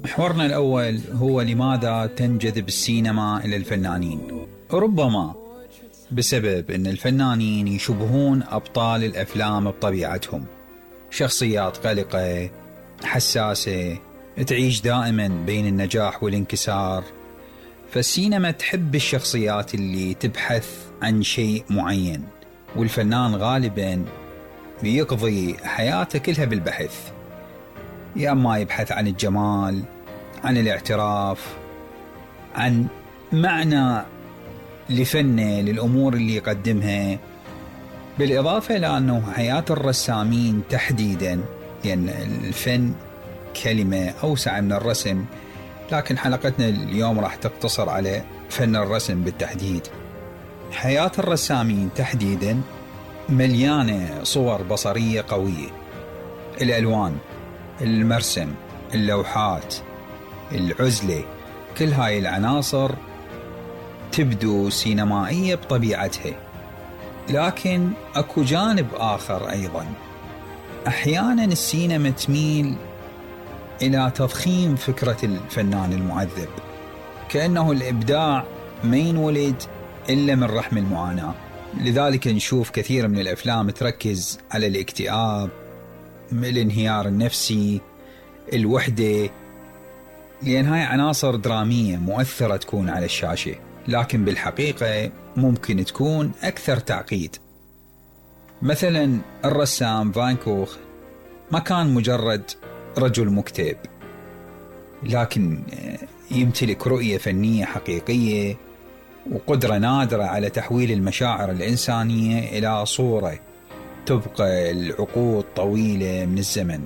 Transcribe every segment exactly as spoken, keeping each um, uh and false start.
محورنا الأول هو لماذا تنجذب السينما إلى الفنانين؟ ربما بسبب أن الفنانين يشبهون أبطال الأفلام بطبيعتهم، شخصيات قلقة حساسة تعيش دائما بين النجاح والانكسار، فالسينما تحب الشخصيات اللي تبحث عن شيء معين، والفنان غالبا بيقضي حياته كلها بالبحث، يا أما يبحث عن الجمال، عن الاعتراف، عن معنى لفنه، للأمور اللي يقدمها. بالإضافة إلى أنه حياة الرسامين تحديدا، لأن يعني الفن كلمة أوسع من الرسم، لكن حلقتنا اليوم راح تقتصر على فن الرسم بالتحديد. حياة الرسامين تحديدا مليانة صور بصرية قوية، الألوان، المرسم، اللوحات، العزلة، كل هاي العناصر تبدو سينمائية بطبيعتها. لكن أكو جانب آخر أيضا، أحيانا السينما تميل إلى تضخيم فكرة الفنان المعذب، كأنه الإبداع ما ينولد إلا من رحم المعاناة. لذلك نشوف كثير من الأفلام تركز على الاكتئاب، الانهيار النفسي، الوحدة، لأن هاي عناصر درامية مؤثرة تكون على الشاشة، لكن بالحقيقة ممكن تكون أكثر تعقيد. مثلا الرسام فان كوخ ما كان مجرد رجل مكتئب، لكن يمتلك رؤية فنية حقيقية وقدرة نادرة على تحويل المشاعر الإنسانية إلى صورة تبقى العقود طويلة من الزمن.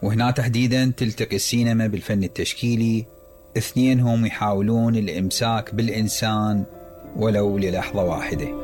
وهنا تحديدا تلتقي السينما بالفن التشكيلي، اثنينهم يحاولون الإمساك بالإنسان ولو للحظة واحدة.